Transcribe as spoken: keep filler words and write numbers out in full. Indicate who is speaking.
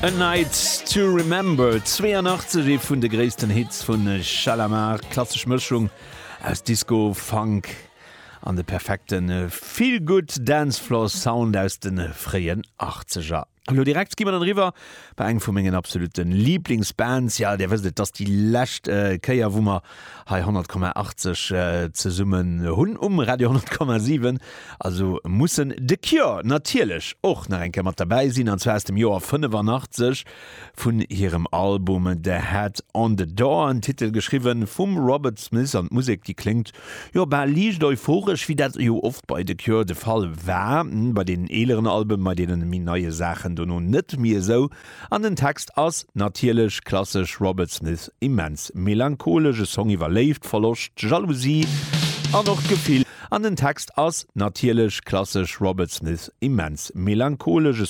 Speaker 1: A Night to Remember zwéianachtzeg ee vun de gréissten Hits vun Shalamar klassesch Mëschung aus Disco Funk an de perfekte Feel-Good Dancefloor Sound aus de fréien Achtzeger. Elo direkt gi mer dann eriwwer bei eng vu mengen absolute Lieblingsbands. Ja, dir wësst et, dass déi lescht äh, Kéier wou mer hei honnert Komma achtzeg äh, zesummen hunn um Radio honnert Komma siwen. Also mussen The Cure natierlech och nach eng Kéier mat derbäi sinn, an zwar aus dem Joer fënnefanachtzesch vun hirem Album The Head on the Door, en Titel geschriwwen vum Robert Smith an d'Musek déi kléngt jo bal liicht euphoresch, wéi dat jo oft bei The Cure de Fall war, bei den eeleren Alben, bei deenen méi neie Saachen dono net méi esou. An den Text ass natierlech klassesch Robert Smith immens melancholesch, e Song iwwer Léift, Verloscht, Jalousie an och d'Gefill. An den Text ass natierlech klassesch Robert Smith immens melancholesch, e